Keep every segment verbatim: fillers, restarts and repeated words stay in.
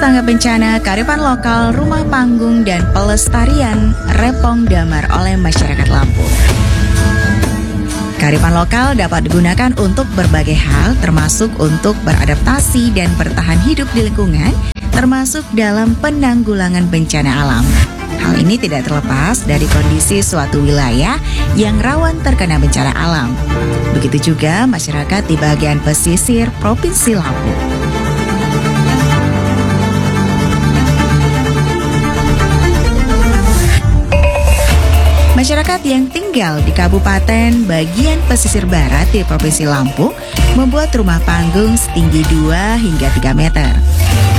Tangga Bencana, Kearifan Lokal, Rumah Panggung, dan Pelestarian Repong Damar oleh Masyarakat Lampung. Kearifan lokal dapat digunakan untuk berbagai hal, termasuk untuk beradaptasi dan bertahan hidup di lingkungan, termasuk dalam penanggulangan bencana alam. Hal ini tidak terlepas dari kondisi suatu wilayah yang rawan terkena bencana alam. Begitu juga masyarakat di bagian pesisir Provinsi Lampung. Masyarakat yang tinggal di kabupaten bagian pesisir barat di Provinsi Lampung membuat rumah panggung setinggi dua hingga tiga meter.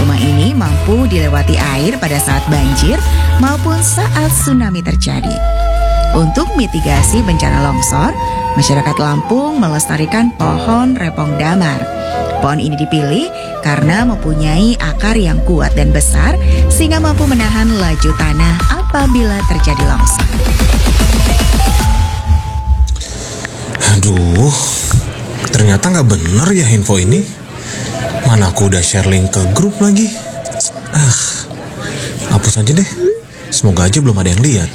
Rumah ini mampu dilewati air pada saat banjir maupun saat tsunami terjadi. Untuk mitigasi bencana longsor, masyarakat Lampung melestarikan pohon repong damar. Pohon ini dipilih karena mempunyai akar yang kuat dan besar, sehingga mampu menahan laju tanah apabila terjadi longsor. Aduh, ternyata nggak bener ya info ini. Mana aku udah share link ke grup lagi. Ah, hapus aja deh. Semoga aja belum ada yang lihat.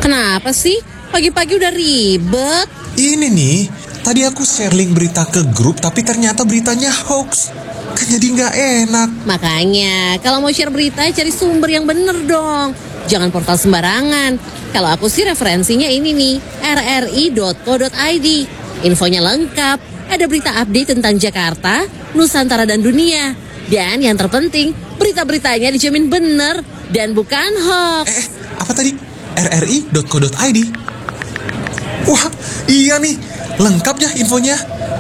Kenapa sih? Pagi-pagi udah ribet. Ini nih, tadi aku share link berita ke grup tapi ternyata beritanya hoax. Kan jadi nggak enak. Makanya, kalau mau share berita, cari sumber yang bener dong. Jangan portal sembarangan. Kalau aku sih referensinya ini nih, rri.co.id. Infonya lengkap. Ada berita update tentang Jakarta, Nusantara, dan dunia. Dan yang terpenting, berita-beritanya dijamin bener dan bukan hoax. Eh, apa tadi? rri.co.id. Wah, iya nih, lengkap ya infonya.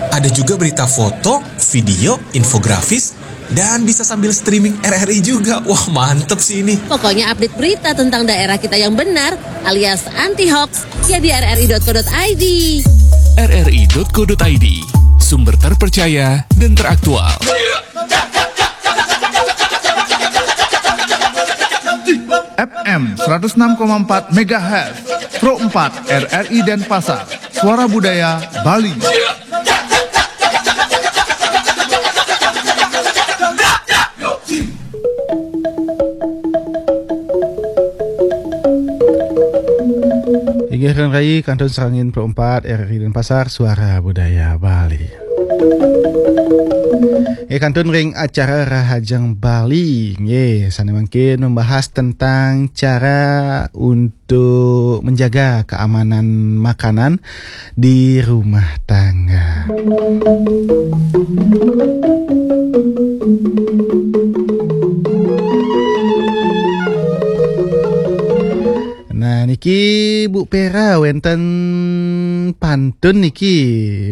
Ada juga berita foto, video, infografis, dan bisa sambil streaming RRI juga. Wah, mantep sih ini. Pokoknya update berita tentang daerah kita yang benar alias anti hoax ya di rri.co.id. rri.co.id, sumber terpercaya dan teraktual. FM seratus enam koma empat megahertz, Pro empat RRI Denpasar, Suara Budaya Bali. Inggih rai kantun sarengin Pro empat RRI Denpasar, Suara Budaya Bali. Nggih, kantun ring acara Rahajeng Bali. Nggih, sane mangkin membahas tentang cara untuk menjaga keamanan makanan di rumah tangga. Nah, niki Bu Pera, wenten pantun niki,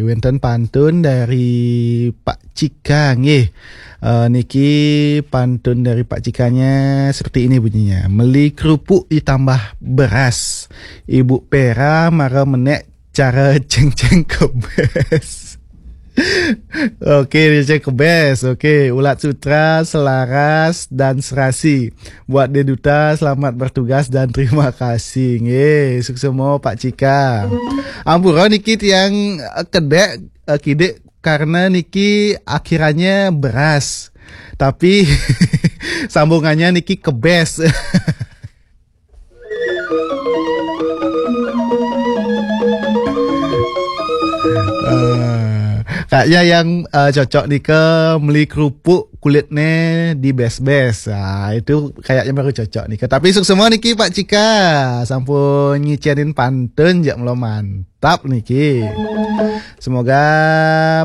wenten pantun dari Pak Cika nggih. Uh, niki pantun dari Pak Cikanya seperti ini bunyinya. Meli kerupuk ditambah beras. Ibu Pera mara menek cara ceng-ceng kebes. Oke, dia ceng kebes. Oke, ulat sutra selaras dan serasi. Buat dia duta, selamat bertugas dan terima kasih. Nggih, suksema Pak Cika. Ampura niki tiang, eh, kedek, eh, kidik karena niki akhirannya beras. Tapi sambungannya niki kebes. Eh, kayaknya yang, eh, cocok nika meli kerupuk kulitnya di bes-bes. Ah, itu kayaknya baru cocok nika. Tapi suksema niki Pak Cika, sampun ngicenin pantun jak meloman. Tap niki. Semoga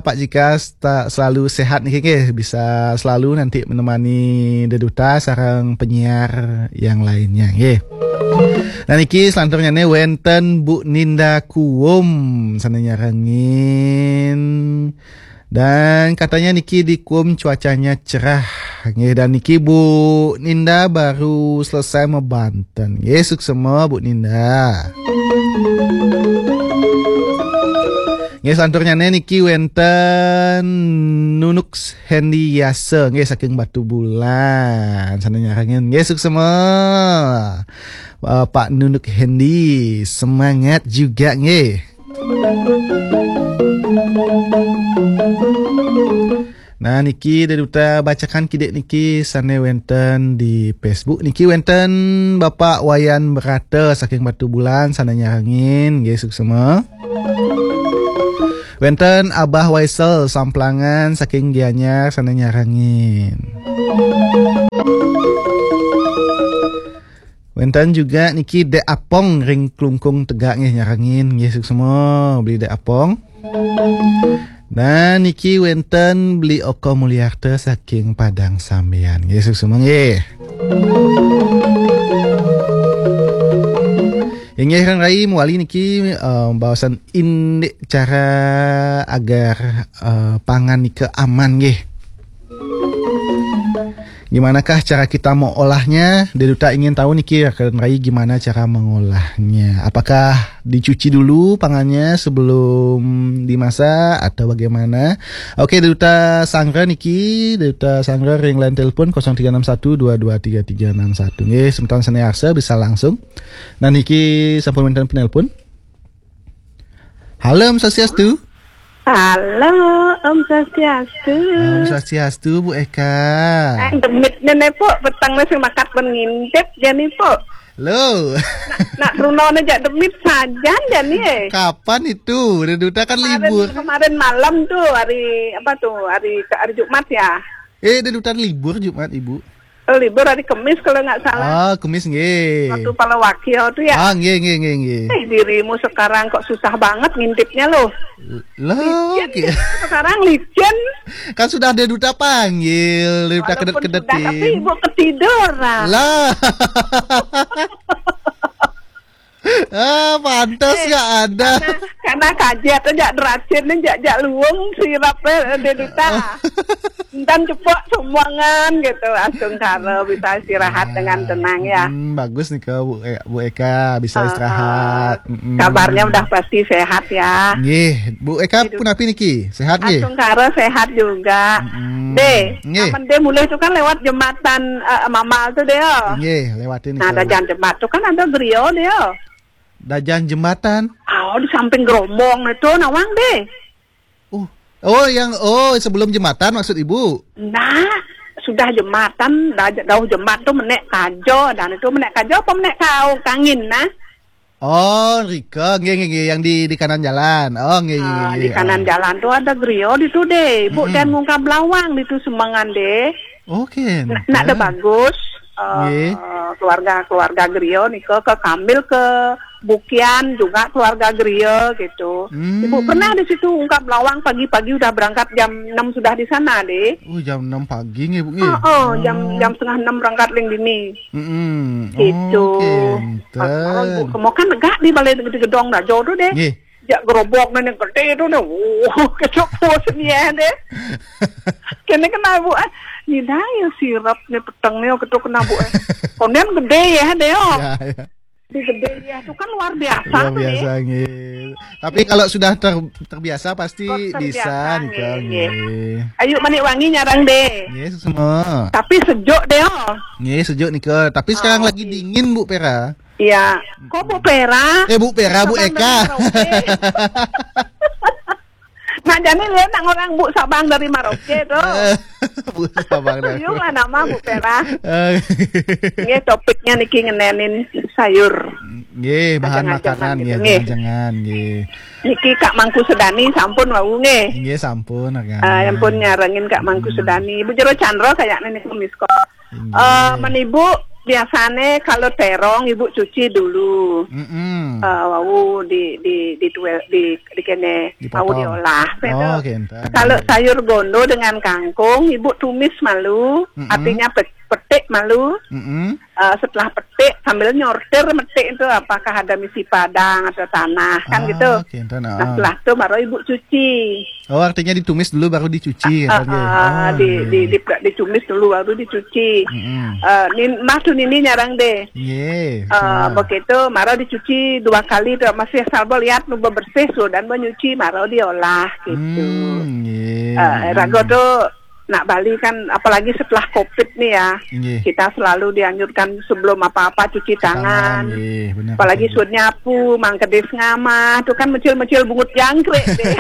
Pak Jika sta- selalu sehat niki nggih, bisa selalu nanti menemani deduta sareng penyiar yang lainnya nggih. Nah, niki selanturnya nih wenten Bu Ninda Kuum sana nyarengin. Dan katanya niki di Kuum cuacanya cerah. Nggih, dan niki Bu Ninda baru selesai mebanten. Nggih, suksema Bu Ninda. Nggih, selanturnya niki wenten Nunuk Hendi Yasa nggih saking Batu Bulan. Sana nyarengin. Nggih, suksema. Eh, Pak Nunuk Hendi, semangat juga nggih. Nah, niki Dé Duta bacakan kidik niki sané wénten di Facebook. Niki wénten Bapak Wayan Berata saking Batubulan sané nyarengin, nggih suksma. Wénten Abah Waisel Samplangan saking Gianyar sané nyarengin. Wénten juga niki Dék Apong ring Klungkung Tegak nggih nyarengin, nggih suksma beli Dék Apong. Dan niki wénten beli Oko Mulyarta saking Padang Sambian, nggih suksma nggih. Inggih Ran Rai mawali niki eh, baosan indik cara agar eh, pangan nika aman nggih. Gimanakah cara kita mengolahnya? Dé Duta ingin tahu niki Ran Rai gimana cara mengolahnya. Apakah dicuci dulu pangannya sebelum dimasak atau bagaimana? Oke, Dé Duta Sanggra niki, Dé Duta Sanggra ring line telepon kosong tiga enam satu dua dua tiga tiga enam satu. Nggih, semeton sané arsa bisa langsung. Nah niki sampun wénten penelpon. Halo, Om Swastiastu. Halo, Om Swastiastu. Om Swastiastu, Bu Eka. Eh, demit nené, Pok, peteng wis makat pun ngintip jani, Pok. Lo. Nak, nak runo ne jak demit sajan jani, eh. Kapan itu? Dé Duta kan Kemarin, libur. Kemarin malam tuh, hari apa tuh? Hari hari Jumat ya. Eh, Dé Duta libur Jumat, Ibu. Oh, libur hari Kemis kalau nggak salah. Ah, Kemis nggih. Waktu Palawakya tuh ya. Ah, nggih nggih nggih nggih. Eh, dirimu sekarang kok susah banget ngintipnya loh. Lah, licin, ki- sekarang licin. Kan sudah Dé Duta panggil, Dé Duta kedet-kedetin. Tapi ibu ketiduran. Lah. Ah, pantas eh, nggak ada. Karena, karena kajet aja deracin aja jak luung sirap eh, Dé Duta. Entan cepok sumbangan gitu. Astungkara bisa istirahat dengan tenang ya. Hmm, bagus nih ke Bu, eh, Bu Eka bisa uh, istirahat. Uh, kabarnya udah pasti sehat ya. Nggih, Bu Eka pun api niki? Sehat nggih? Astungkara sehat juga. Hmm, deh, nggih. Aman deh mulai itu kan lewat jembatan uh, Mamal tuh deh. Nggih, lewatin. Nah, ada jalan jembatan tuh kan ada griya deh. Dajan jembatan. Oh, di samping gerombong itu nawang deh. Oh. Oh, yang oh sebelum jembatan maksud Ibu? Nah, sudah jembatan, dauh jembatan tuh menek kajo dan itu menek kajo apa menek kau kangin nah? Oh, Rika, nggih nggih nggih yang di di kanan jalan. Oh, nggih nggih. Ah, di kanan jalan tuh ada griya di tuh deh. Ibu dan muka belawang di tuh semangan deh. Oke. Nak ada bagus. Uh, keluarga keluarga Grio nika ke Kambil ke Bukian juga keluarga Grio gitu. Hmm. Ibu pernah di situ ungkap lawang pagi-pagi udah berangkat jam enam sudah di sana deh. Oh jam enam pagi nggih Bu nggih. Oh, oh, jam jam setengah enam berangkat ling dini. Hmm. Gitu. Oke. Pas malam Bu kemo kan negak di balai di gedong dah jauh tu deh. Nggih. Jak gerobok ni gede tu ni. Wuh, kecok puas ni eh deh. Kena kena Bu eh. Ni dah ya sirap ni peteng ni ketuk kena Bu eh. Kemudian gede ya deh oh. Ya, ya. Di gede ya tu kan luar biasa luar tu biasa ni. Nggih. Tapi kalau sudah ter, terbiasa pasti terbiasa, bisa nggih. Ayu Manik Wangi nyarang deh. Nggih, semua. Tapi sejuk deh oh. Nggih, sejuk nika. Tapi sekarang oh, lagi okay. Dingin Bu Pera. Iya. Kok Bu Pera? Eh, Bu Pera, Bu Eka. Nah, jadi dia nak orang Bu Sabang dari Maroke tu. Bu Sabang dari. Tuyung lah nama Bu Pera. Nggih, topiknya niki ngenenin sayur. Nggih, bahan makanan nggih, jangan nggih. Niki Kak Mangku Sedani sampun wau nggih. Nggih, sampun. Ah, sampun nyarengin Kak Mangku Sedani. Bu Jero Chandra kayaknya nih miss call. Eh, men ibu biasane kalau terong ibu cuci dulu. Mm-mm. Eh, wau di di di tuwe, di di kene wau diolah. Oh, gitu. Kalau sayur gondo dengan kangkung ibu tumis malu, mm-mm. Artinya pe- petik malu. Mm-mm. Eh, setelah petik sambil nyortir metik itu apakah ada misi padang atau tanah kan oh, gitu. Okay, nah, setelah itu baru ibu cuci. Oh, artinya ditumis dulu baru dicuci uh, kan, uh, uh, di, di, di, ditumis dulu baru dicuci. Mm-hmm. Uh, nin, mah tu nini nyarang deh. Nggih. Uh, begitu, mara dicuci dua kali tu masih salbo lihat nu bersih tu dan menyuci mara diolah gitu. Hmm, nggih. Uh, rago tu nak Bali kan, apalagi setelah covid nih ya, Inggih. Kita selalu dianjurkan sebelum apa-apa cuci Cuci tangan, tangan. Inggih, benar, Apalagi betul. Suud nyapu, mangkedis ngamah, itu kan mecil-mecil bungut jangkrik deh.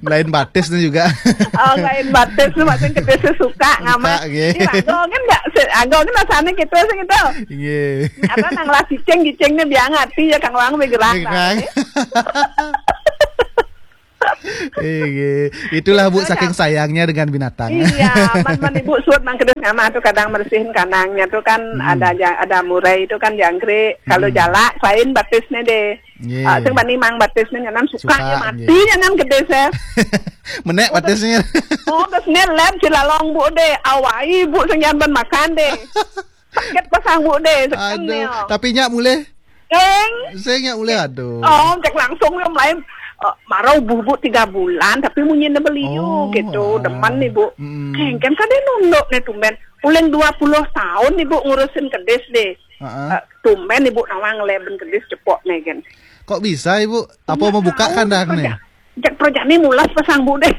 Lain batis tuh juga. Oh, lain batis tuh, maksudnya kedis suka ngamah. Suka, nggih. Ih, anggo kan nggak, se- anggo kan rasanya gitu, sih gitu. Inggih. Apa nang lah cicing, cicingnya biang hati ya, kang wang bergerak. Bergerak. Iya. Itulah, Bu, saking sayangnya dengan binatang. Iya, man, man ibu suud mangkedis ngamah tuh kadang bersihin kandangnya tuh kan Hmm. ada ja- ada murai itu kan jangkrik. Kalau Hmm. Jalak, lain batisnya deh. Iya. Ah, sing bani mang batisnya nyanan suka Suka, ya mati iya. Nyanan gede, Sir. Menek batisnya. Oh, terus nih lem cilalong, Bu, deh. Awai, Bu, sing nyanan makan deh. Sakit pasang, Bu, deh. Sekan Aduh, nih, oh. Tapi nyak mulai. Eng. Saya nyak mulai, aduh. Oh, cek langsung yang lain. Eh, marau bubu tiga bulan, tapi munyi beliu Oh, gitu. Ah. Demen nih, Bu. Mm-mm. Kengken kan dia nunduk nih tumben. Uling dua puluh tahun nih, Bu, ngurusin kedis deh. Ah, ah. Eh, tumben nih, Bu, nawang leben kedis cepok nih, kan. Kok bisa, Ibu? Apa mau buka kandang nih? Cek proyek nih mulas pasang, Bu, deh.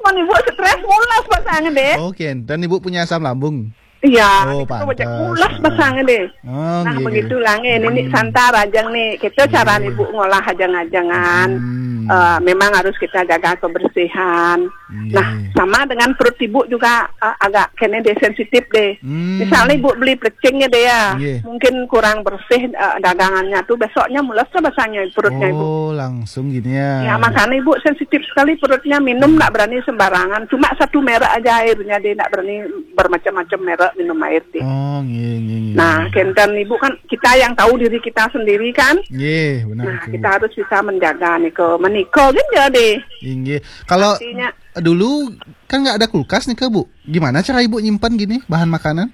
Man ibu stres mulas pasang deh. Oke, dan Ibu punya asam lambung? Iya, Oh, itu proyek pantas. Mulas Ah. Pasang deh. Oh, Nah, iya, iya. Begitulah nih, ini Hmm. Santar aja nih. Kita cara Iya. Ibu ngolah ajang-ajangan. Hmm. Eh, memang harus kita jaga kebersihan. Iya. Nah, sama dengan perut ibu juga, eh, agak kena deh sensitif deh. Hmm. Misalnya ibu beli plecingnya deh ya, Iya. Mungkin kurang bersih, eh, dagangannya tuh besoknya mules tuh basahnya perutnya ibu. Oh, langsung gini ya. Ya, makanya ibu sensitif sekali perutnya, minum Hmm. nggak berani sembarangan. Cuma satu merek aja airnya, dia nggak berani bermacam-macam merek minum air deh. Oh, nggih, nggih, nggih. Nah, kenten ibu kan kita yang tahu diri kita sendiri kan. Nggih, benar Nah, itu, kita Bu. Harus bisa menjaga nih ke meniko kan jadi. Inggih. Kalau Artinya dulu kan nggak ada kulkas nih, Bu. Gimana cara Ibu nyimpan gini bahan makanan?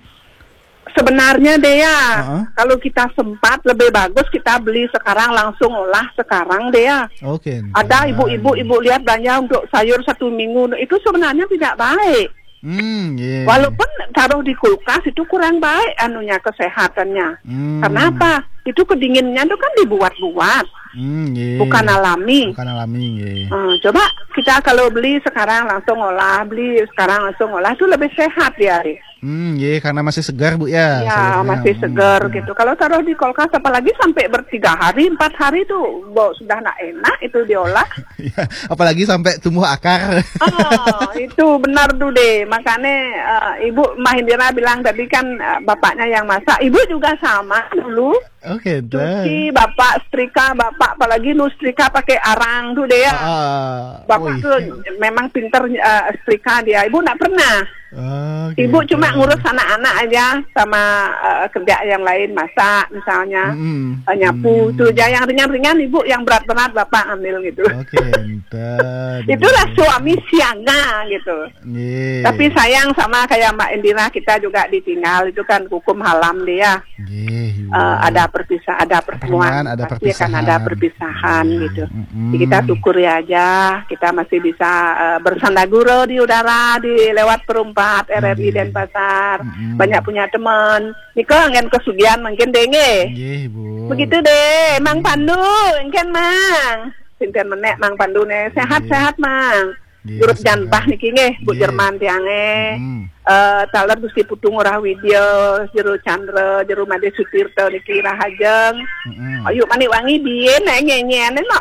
Sebenarnya deh ya, Heeh. Kalau kita sempat lebih bagus kita beli sekarang langsung olah sekarang deh ya. Oke. Ada ibu-ibu ibu lihat belanja untuk sayur satu minggu itu sebenarnya tidak baik. Hmm, iya. Walaupun taruh di kulkas itu kurang baik anunya kesehatannya. Hmm. Kenapa? Itu kedinginnya tuh kan dibuat-buat. Hmm, iya. Bukan alami. Bukan alami, iya. Eh, coba kita kalau beli sekarang langsung olah, beli sekarang langsung olah itu lebih sehat dia. Hmm, iya, karena masih segar, Bu, ya, Ya, sayurnya. Masih Hmm, segar hmm. Gitu. Kalau taruh di kulkas, apalagi sampai bertiga hari, empat hari tuh, bo, sudah nak enak itu diolah. Iya, apalagi sampai tumbuh akar. Oh, itu benar tuh deh. Makanya eh, Ibu Mbah Indira bilang tadi kan eh, bapaknya yang masak. Ibu juga sama dulu. Oke, Cuci, bapak setrika, bapak apalagi nu setrika pakai arang tuh deh ya. Ah, Bapak wih. Tuh memang pinter eh, setrika dia. Ibu nggak pernah. Oh, Ibu gitu. Cuma ngurus anak-anak aja sama eh, kerja yang lain, masak misalnya, Mm-mm. Eh, nyapu Mm. Tuh aja yang ringan-ringan ibu, yang berat-berat bapak ambil gitu. Oke, enten. Itulah suami siaga gitu. Nggih. Tapi sayang sama kayak Mbak Indira, kita juga ditinggal itu kan hukum halam dia. Nggih, iya. Eh, ada perpisah, ada pertemuan, Pertemuan, ada pasti akan ada perpisahan. Perpisahan gitu. Mm-mm. Jadi kita syukuri aja, kita masih bisa eh, bersandaguro di udara di lewat perumpat R R I Nggih. Denpasar. Mm-mm. Banyak punya teman. Niko angin kesugihan mungkin deh nggih. Nggih, Bu. Begitu deh, Mang Pandu, engken Mang. Sinten menek Mang Pandu nih, sehat-sehat Mang. Nggih, Jurut sehat. Janbah niki nggih, Bu Nggih. Jerman tiange. Mm-mm. Eh, taler Gusti Putu Ngurah Widya, Jero Chandra, Jero Made Sutirta niki rahajeng. Mm-mm. Ayo manik wangi biyen nek nyenyene no.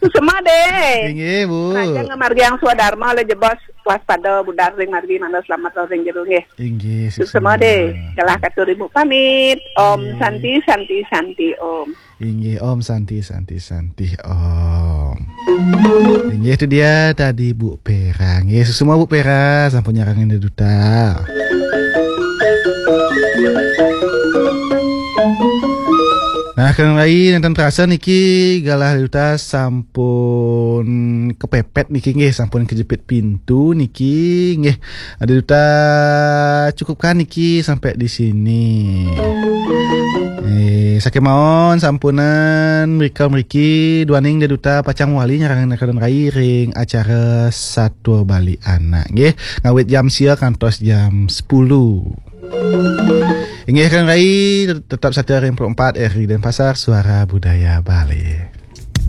Semua deh. Inggih, Bu. Rahajeng ngamargiang swadharma le jebos waspada budar ring margi mangda selamat ring jero nggih. Inggih, Semua deh. Galah katur ibu pamit. Om Nggih. Santi, Santi, Santi, Om. Inggih, Om Santi, Santi, Santi, Om. Inggih, itu dia tadi Bu Pera. Nggih, semua Bu Pera, sampun nyarengin duta. Nah, kang rai nenten terasa niki galah duta sampun kepepet niki nggih, sampun kejepit pintu niki nggih. Ada duta cukupkan niki sampai di sini. Eh, sakit mawon sampunan mrika mriki duaning deduta pacang wali nyarengin kang rai ring acara Satua Bali Anak nggih. Ngawit jam sia kantos jam sepuluh. Inggih kang rai tetap setia ring empat R R I Denpasar Suara Budaya Bali.